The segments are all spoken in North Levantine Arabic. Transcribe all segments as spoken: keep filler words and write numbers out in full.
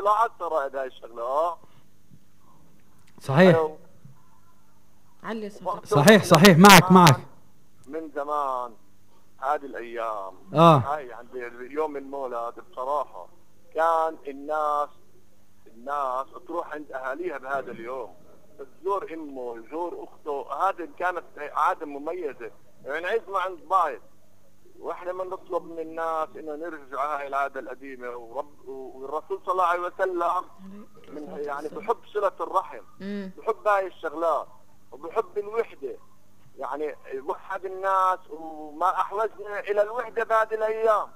لاحظت رائد هاي الشغله. اه صحيح علي صوتك. صحيح صحيح معك معك. من زمان هذه الايام اه هاي عند يوم المولد بصراحه كان الناس الناس تروح عند اهاليها بهذا اليوم، تزور امه تزور اخته. هذه كانت عاده مميزه يعني عزمه عند بعض، واحنا ما نطلب من الناس انه نرجع هاي العاده القديمه. ورب والرسول صلى الله عليه وسلم من يعني بحب صله الرحم، بحب هاي الشغلات وبحب الوحده، يعني وحد الناس وما احوجنا الى الوحده بهذه الايام.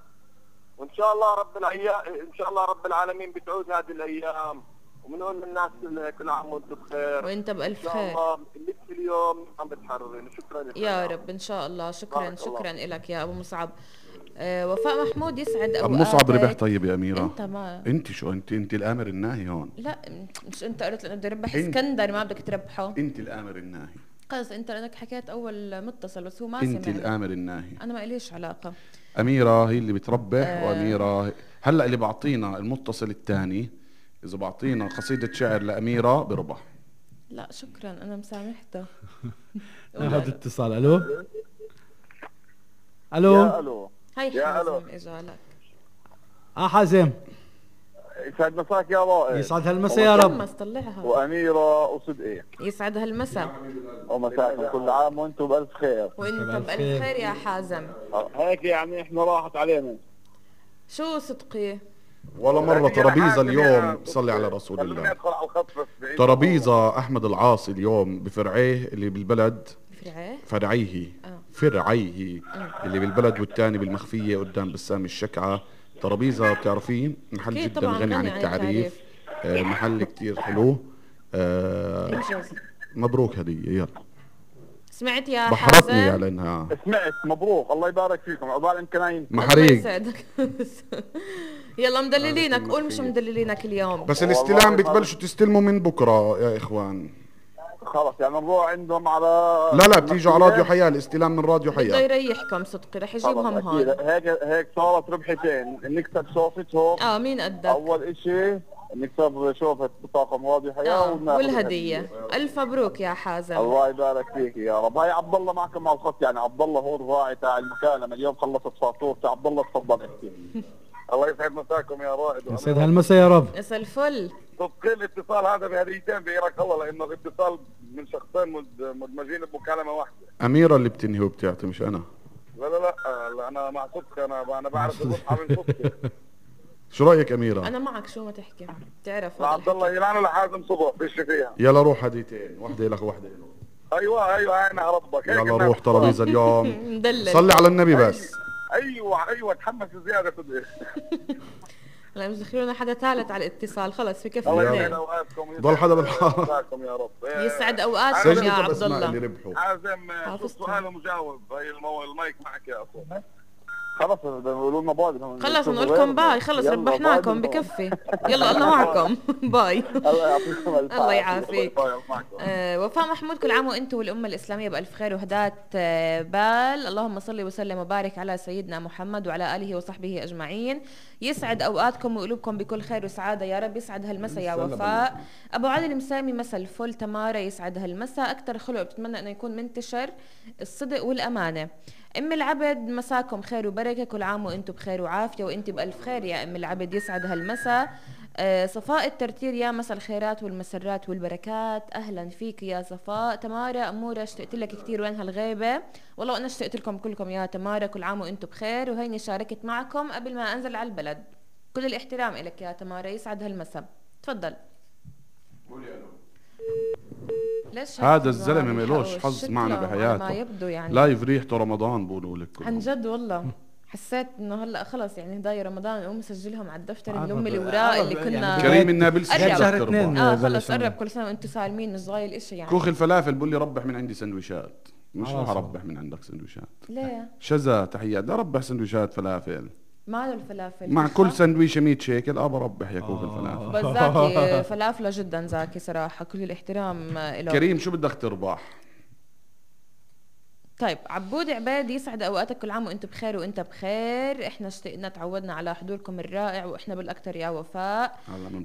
وان شاء الله رب الايام ان شاء الله رب العالمين بتعود هذه الايام، وبنقول للناس كل عام وانتم بخير وانت بالف خير. ان شاء الله لك اليوم عم بتحررين. شكرا لك يا رب ان شاء الله. شكرا شكرا لك يا ابو مصعب. آه وفاء محمود يسعد اوقاتك. ابو مصعب ربح. طيب يا اميره انت ما انت شو انت انت الامر الناهي هون. لا مش انت قلت انه بدي اربح اسكندر ما بدك تربحه. انت الامر الناهي. خلص انت لانك حكيت اول متصل بس هو ما سمع. انت الامر الناهي. انا ما إليش علاقه. اميره هي اللي بتربح. آه واميره هلا اللي بعطينا المتصل الثاني اذا بعطينا قصيده شعر لاميره بربح. لا شكرا انا مسامحته. هذا اتصال. الو الو يا الو هاي حازم اجا لك. اه حازم يسعد مساك يا رائد. يسعد هالمسا يا رب. طلعها. واميره وصدقي يسعد هالمسا ومساكم كل عام وانتم بالف خير. وانت بالف خير يا حازم. هيك يعني احنا راحت علينا. شو صدقي ولا مرة ترابيزة اليوم صلي على رسول الله. ترابيزة أحمد العاصي اليوم بفرعيه اللي بالبلد. فرعيه؟ فرعيه آه. فرعيه آه. اللي بالبلد والتاني بالمخفية قدام بسام الشكعة. ترابيزة بتعرفين محل جدا غني عن التعريف. آه محل كتير حلو. آه مبروك هدية. يلا سمعت يا بحرتني حازم؟ على انها سمعت. مبروك الله يبارك فيكم. عقبال امكانين محريق. يلا مدللينك. قول مش مدللينك اليوم. بس الاستلام بتبلشوا تستلموا من بكره يا اخوان. خلص يعني نروح عندهم على لا لا بتيجوا على راديو حياة. الاستلام من راديو حياة. بده يريحكم صدقي رح يجيبهم هون. هيك هيك صارت ربحتين. نكسب شوفتهم. اه مين قدك؟ اول اشي نكسب شوفة طاقم راديو حياة آه. والهدية. الف مبروك يا حازم. الله يبارك فيك يا رب. هاي عبد الله معكم على الخط. يعني عبد الله هو الراعي تاع المكالمة اليوم. خلصت فاتورته. عبد الله تفضل احكي. الله يسعد مساكم يا رائد. يسعد هالمسا يا رب. مسا الفل. صدقني الاتصال هذا بهديتين بيرك الله لانه الاتصال من شخصين مدمجين بمكالمة واحدة. أميرة اللي بتنهي وبتعطي مش أنا. لا لا لا انا مع صدق. انا انا بعرف الصحة من صدق. شو رايك اميره؟ انا معك شو ما تحكي بتعرف. عبد الله يلعنه لحازم صبح فيش فيها. يلا روح هديتين. وحده لك وحده له. ايوه ايوه انا ربك. يلا روح ترابيزه اليوم. صلي على النبي بس. ايوه ايوه تحمس زياده صدق. لا مش دخلونا حدا ثالث على الاتصال. خلص في كفي. الله يسعد اوقاتكم. ضل حدا بالحاره. يا رب. يسعد اوقاتكم يا عبد الله. حازم سؤال مجاوب. هي المايك معك يا اخو. خلص بيقولوا لنا باي. خلص نقول لكم باي. خلص ربحناكم بكفي. يلا الله معكم. باي. الله يعطيكم الف الله يعافيك. آه وفاء محمود كل عام وانتم والامه الاسلاميه بالف خير وهداة آه بال. اللهم صل وسلم وبارك على سيدنا محمد وعلى اله وصحبه اجمعين. يسعد اوقاتكم وقلوبكم بكل خير وسعاده يا رب. يسعد هالمسا يا وفاء. ابو علي المسامي مسا الفل. تمارا يسعد هالمسا. اكثر خلق بتمنى انه يكون منتشر الصدق والامانه. ام العبد مساكم خير وبركه. كل عام وانتم بخير وعافيه وانت بالف خير يا ام العبد. يسعد هالمسا. آه صفاء الترتير يا مسا الخيرات والمسرات والبركات. اهلا فيك يا صفاء. تمارا اموره اشتقت لك كثير. وين هالغيبه؟ والله انا اشتقت لكم كلكم يا تمارا. كل عام وانتم بخير. وهيني شاركت معكم قبل ما انزل على البلد. كل الاحترام لك يا تمارا. يسعد هالمسا. تفضل. قولي الو. ليش هذا الزلمه مالوش حظ معنا بحياته. ما يبدو يعني لايف ريحته رمضان بقولوا لك. عن جد والله. حسيت انه هلا خلص يعني هدايا رمضان نقوم نسجلهم على الدفتر الام الاوراق اللي كنا كريم النابلسي شهر اثنين. اه خلص قرب. كل سنه وانتم سالمين. مش ضايل شيء يعني. كوخ الفلافل بقول لي ربح من عندي سندويشات. مش رح اربح من عندك سندويشات. ليه؟ شذا تحيات. بدي اربح سندويشات فلافل. ماله الفلافل مع كل سندويشه مية شيكل. اه بربح يا كوخ الفلافل. بس زاكي فلافله جدا زاكي صراحه. كل الاحترام له. كريم شو بدك تربح؟ طيب عبود عباد يسعد اوقاتك. كل عام وانت بخير وانت بخير. احنا اشتقنا تعودنا على حضوركم الرائع واحنا بالاكثر يا وفاء.